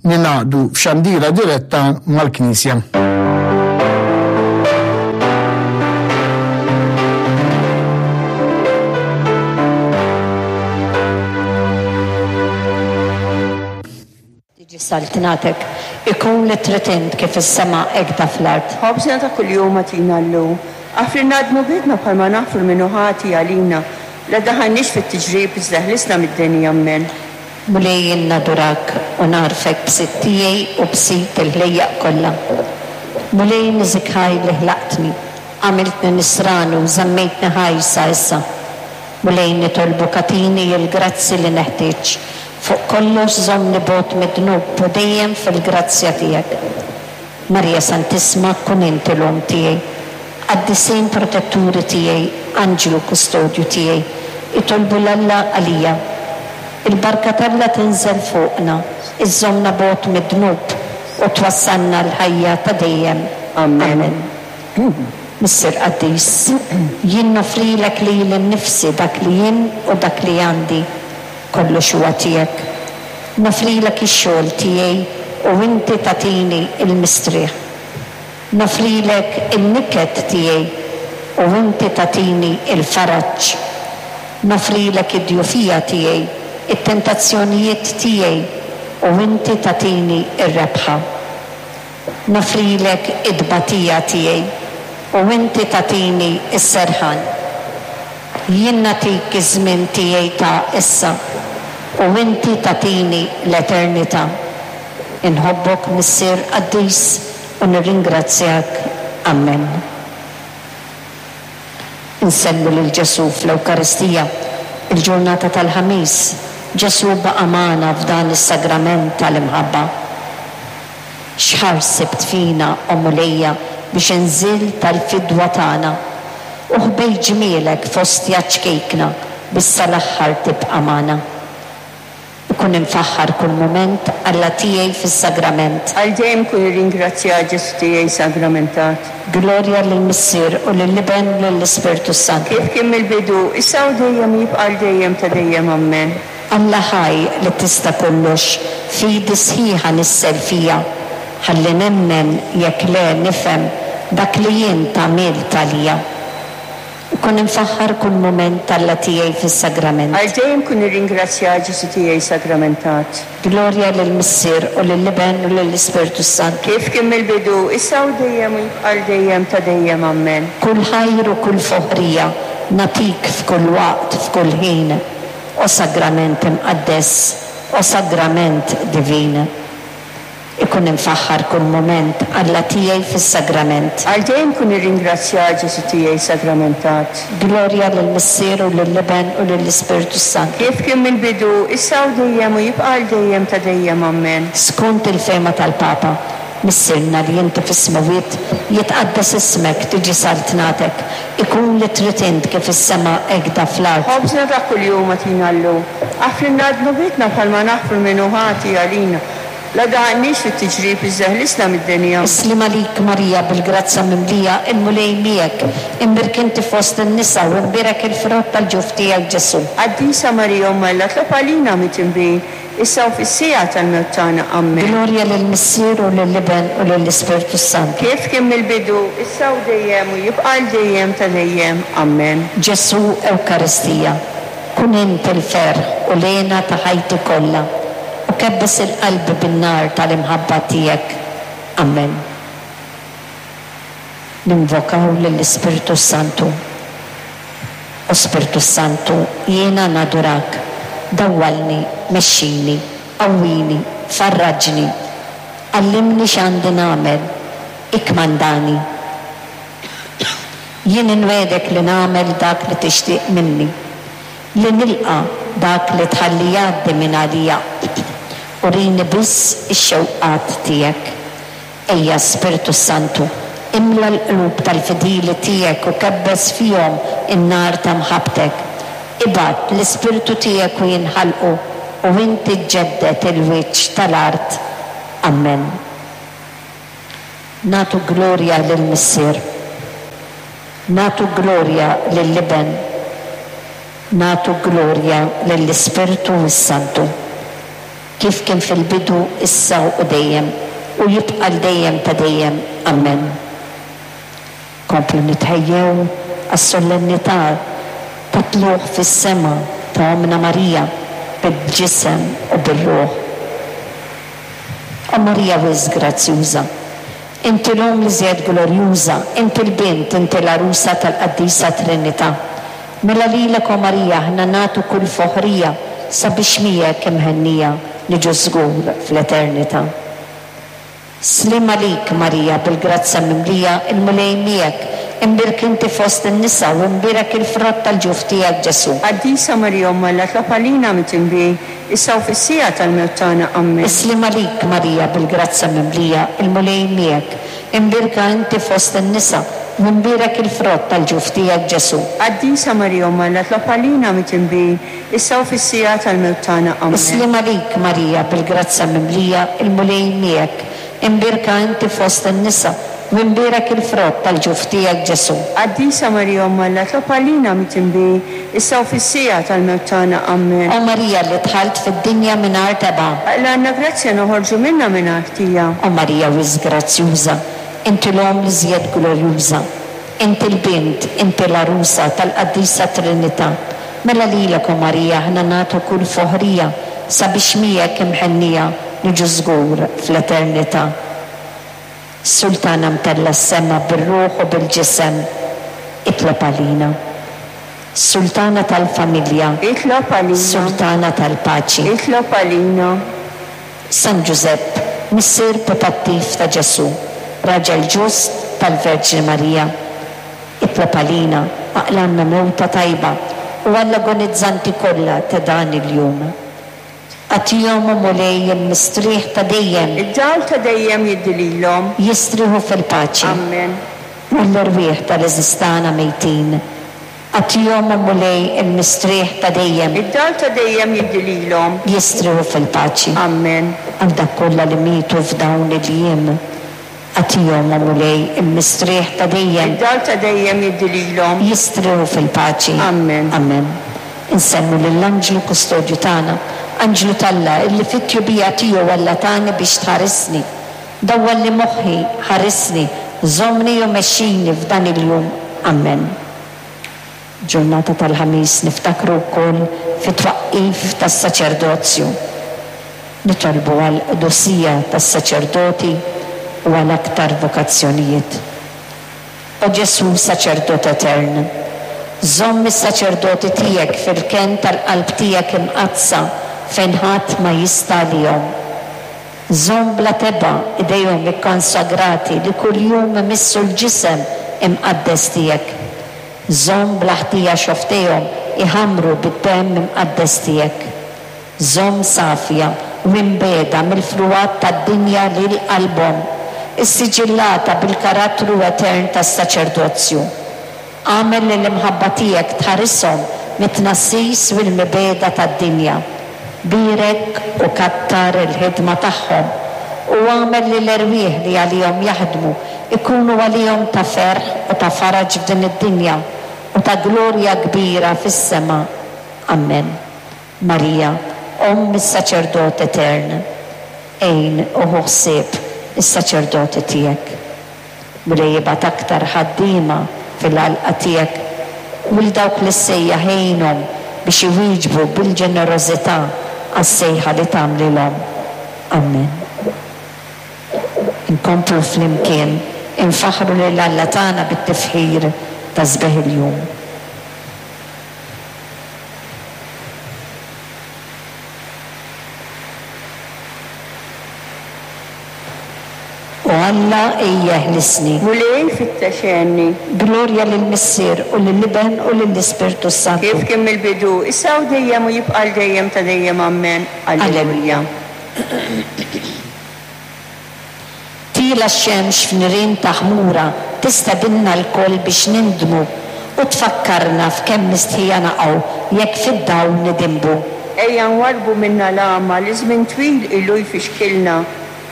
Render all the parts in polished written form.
Ningħaqdu f'xandira diretta mal-Knisja. Tiġi saltnatek, ikun li trid int kif fis-sema hekk da fl-art. Ħobżna ta' kuljum agħtina llum. Aħfrilna dnubietna bħalma naħfru 'l min hu ħati għalina. La ddaħħalniex fit-tiġrib iżda eħlisna mid-deni. Ammen. Mulej jien nadurak u nagħrfek b'Sid tiegħi u b'Sid il-ħlejjaq kollha. Mulej niżik ħaj li ħlaqtni, għamiltni nisrani u żammejtni ħaj sa issa. Mulej nitolbok agħtini l-grazzi li neħtieġ. Fuq kollox żommni bogħod mid-dnub u dejjem fil-grazzja tiegħek. Marija Santissma kun inti l-Omm tiegħi. Qaddisin protetturi tiegħi, anġlu kustodju tiegħi, itolbu 'l Alla għalija. Il-barka t'Alla tinżel fuqna, iżżommna bogħod mid-dnub u twassalna għall-ħajja ta' dejjem. Amen. Missier qaddis, jien noffrilek lili nnifsi dak li jien u dak li għandi, kollox huwa tiegħek. Noffrilek ix-xogħol tiegħi u inti tagħtini l-mistrieħ. Noffrilek in-niket tiegħi u inti tagħtini l-faraġ. Noffrilek id-djufija tiegħi, it-tentazzjonijiet tiegħi u inti tagħtini r-rebħa. Noffrilek it-tbatija tiegħi u inti tagħtini s-serħan. Jien nagħtik iż-żmien tiegħi ta' issa u inti tagħtini l-eternità. Inħobbok Missier qaddis u nirringrazzjak. Ammen. Insellmu lil Ġesù fl-Ewkaristija, il-ġurnata tal-Ħamis, Ġesù baqa' magħna f'dan is-sagrament tal-imħabba. X'ħars sibt fina, o Mulejja, biex inżilt għall-fidwa tagħna, u ħbejt ġmielek f'ostja ċkejkna biex sal-aħħar tibqa' magħna. Ikun imfaħħar kull mument Alla tiegħi fis-sagrament. Għal dejjem kun irringrazzjat Ġesù tiegħi sagramentat. Glorja lill-Missier u lill-Iben u lill-Ispirtu s-Santu. Kif kien mill-bidu, issa u dejjem u jibqa' għal dejjem ta' dejjem. Ammen. Alla ħaj li tista' kollox, fidi sħiħa nissel fija, ħalli nemmen jekk le nifhem dak li int għamilt għalija. Ikun imfaħħar kull mument Alla tiegħi fis-sagrament. Għal dejjem kun irringrazzjat Ġesù tiegħi sagramentat. Glorja lill-Missier u lill-Iben u lill-Ispirtu s-Santu. Kif kien mill-bidu, issa u dejjem u jibqa' għal dejjem ta' dejjem. Ammen. Kull ħajr u kull foħrija nagħtik f'kull waqt, f'kull ħin, o Sagrament imqaddes, o Sagrament divin. Ikun imfaħħar kull mument Alla tiegħi fis-sagrament. Għal dejjem kun irringrazzjat Ġesù tiegħi sagramentat. Glorja lill-Missier u lill-Iben u lill-Ispirtu s-Santu. Kif kien mill-bidu, issa u dejjem u jibqa' għal dejjem ta' dejjem. Ammen. Skont il-fehma tal-Papa, Missierna li inti fis-smewwiet, jitqaddes ismek, tiġi saltnatek, ikun li trid int kif fis-sema hekk da fl-art. Ħobżna ta' kuljum agħtina llum. Aħfrilna dnubietna bħalma naħfru 'l min hu ħati għalina. La daħalniex fit-tiġrib iżda ħlisna mid-deni. Ammen. Is-sliem għalik Marija bil-grazzja mimlija, il-Mulej miegħek, imbierk inti fost in-nisa u imbierek il-frott tal-ġuf tiegħek Ġesù. Qaddisa Marija Omm Alla tlob għalina midinbin, issa u fis-siegħa tal-mewt tagħna. Ammen. Glorja lill-Missier u lill-Iben u lill-Ispirtu s-Santu. Kif kien mill-bidu, issa u dejjem u jibqa' għal dejjem ta' dejjem. Ammen. Ġesù Ewkaristija. Kun int il-ferħ u l-hena ta' ħajti kollha, u kebbes 'il qalbi bin-nar tal-imħabba tiegħek. Ammen. Ninvokaw lill-Ispirtu s-Santu. O Spirtu s-Santu, jiena nadurak. Dawwalni, mexxini, qawwini, farraġni. Għallimni x'għandi nagħmel. Ikkmandani. Jien inwegħdek li nagħmel dak li tixtieq minni, li nilqa' dak li tħalli jgħaddi minn għalija. Urini biss ix-xewqat tiegħek. Ejja, Spirtu s-Santu, imla l-qlub tal-fidili tiegħek u kebbes fihom in-nar ta' mħabbtek. Ibgħat l-Ispirtu tiegħek u jinħalqu, u inti ġġedded il-wiċċ tal-art. Ammen. Nagħtu glorja lill-Missier. Nagħtu glorja lill-Iben. Nagħtu glorja lill-Ispirtu s-Santu. Kif kien fil-bidu, issa u dejjem, u jibqa' għal dejjem ta' dejjem. Ammen. Komplu nitħejjew għas-solennità tat-Tlugħ fis-Sema ta' Ommna Marija bil-ġisem u bir-ruħ. O Marija wisq grazzjuża, inti l-Omm l-iżjed glorjuża, inti l-Bint, inti l-Għarusa tal-Qaddisa Trinità. Mela lilek, o Marija, aħna nagħtu kull foħrija sabiex miegħek imhennija niġu żgur fl-eternità. Sliem għalik, Marija, bil-grazzja mimlija, il-Mulej miegħek, imbierk inti fost in-nisa u imbierek il-frott tal-ġuf tiegħek, Ġesù. Qaddisa Marija Omm Alla tlob għalina midinbin, issa u fis-siegħa tal-mewt tagħna. Ammen. Is-sliem għalik, Marija, bil-grazzja mimlija, il-Mulej miegħek, imbierka inti fost in-nisa u imbierek il-frott tal-ġuf tiegħek, Ġesù. Qaddisa Marija Omm Alla tlob għalina midinbin, issa u fis-siegħa tal-mewt tagħna. Ammen. Is-sliem għalik, Marija, bil-grazzja mimlija, il-Mulej miegħek, imbierka inti fost in-nisa, u imbierek il-frott tal-ġuf tiegħek, Ġesù. Qaddisa Marija Omm Alla, tlob għalina midinbin, issa u fis-siegħa tal-mewt tagħna. Ammen. O Marija li dħalt fid-dinja mingħajr tebgħa. Aqlgħalna grazzja noħorġu minnha mingħajr ħtija. O Marija wisq grazzjuża, inti l-Omm l-iżjed glorjuża. Inti l-Bint, inti l-Għarusa tal-Qaddisa Trinità. Mela lilek, o Marija, aħna nagħtu kull foħrija sabiex miegħek imħennija niġu żgur fl-eternità. Sultana mtellgħa s-sema bir-ruħ u bil-ġisem, itlob għalina. Sultana tal-familja. Itlob għalina. Sultana tal-paċi. Itlob għalina. San Ġużepp, missier putattiv ta' Ġesù, raġel ġust tal-Verġni Marija, itlob għalina, aqlgħalna mewta tajba u għall-agonizzanti kollha ta' dan il-jum. Agħtihom, o Mulej, il-mistrieħ ta' dejjem. Id-dawl ta' dejjem jiddi lilhom. Jistrieħu fil-paċi. Ammen. U għall-erwieħ tal-għeżież tagħna mejtin, Agħtihom, o Mulej, il-mistrieħ ta' dejjem. Id-dawl ta' dejjem jiddi lilhom. Jistrieħu fil-paċi. Ammen. Għal dawk kollha li mietu f'dawn il-jiem, agħtihom, o Mulej, il-mistrieħ ta' dejjem. Id-dawl ta' dejjem jiddi lilhom. Jistrieħu fil-paċi. Ammen. Ammen. Insellmu lill-Anġlu Kustodju tagħna, Anġlu t'Alla, illi fit-tjubija tiegħu Alla tani biex tħarisni. Dawwalli moħħi, ħarisni, żommni u mexxini f'dan il-jum. Ammen. Ġurnata tal-Ħamis niftakru wkoll fit-twaqqif tas-saċerdozju. Nitolbu għall-qdusija tas-saċerdoti u għal aktar vokazzjonijiet. O Ġesù Saċerdot Etern, żomm is-saċerdoti tiegħek fil-kenn tal-Qalb tiegħek Imqaddsa fejn ħadd ma jista' għalihom. Żomm bla tebgħa idejhom ikkonsagrati li kuljum imissu l-ġisem imqaddes tiegħek. Żomm bla ħtija xofftejhom iħammru bid-demm imqaddes tiegħek. Żomm safja u imbiegħda mill-frugħat tad-dinja lil qalbhom, issiġillata bil-karattru etern tas-saċerdozju. Agħmel li l-imħabba tiegħek tħarishom mit-tnassis u l-mibegħda tad-dinja. Bierek u kattar il-ħidma tagħhom, u agħmel li l-erwieħ li għalihom jaħdmu jkunu għalihom ta' ferħ u ta' faraġ f'din id-dinja u ta' glorja kbira fis-sema. Ammen. Marija, Omm is-Saċerdot Etern, għin u ħu ħsieb is-saċerdoti tiegħek. Mulej ibgħat aktar ħaddiema fil-għalqa tiegħek u 'l dawk li ssejjaħ għinhom biex iwieġbu bil-ġenerożità għas-sejħa li tagħmlilhom. Ammen. Inkomplu flimkien infaħħru lil Alla tagħna bit-tifħir ta' sbieħ il-jum. O Alla, ejja eħlisni. Mulej, fittex għenni. Glorja lill-Missier, u lill-Iben, u lill-Ispirtu s-Santu. Kif kien mill-bidu, issa u dejjem u jibqa' għal dejjem ta' dejjem. Ammen. Alleluja. Tiela' x-xemx f'nirien ta' ħmura tistedinna lkoll biex nindmu u tfakkarna f'kemm mistħija naqgħu jekk fid-dawl nidinbu. Ejja nwarrbu minna l-għama li żmien twil ilu jfixkilna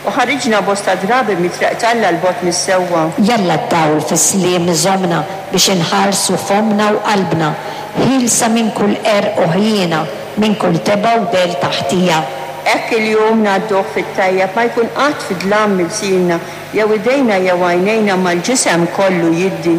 U ħariġna bosta drabi mit-triq t'Alla 'l bogħod mis-sewwa. Jalla d-dawl fis-sliem iżommna biex inħarsu fommna u qalbna, ħielsa minn kull qerq u ħjiena, minn kull tebgħa u dell ta' ħtija. Hekk il-jum ngħadduh fit-tajjeb, ma jkun qatt fi dlam ilsienna, jew idejna jew għajnejna, imma l-ġisem kollu jiddi.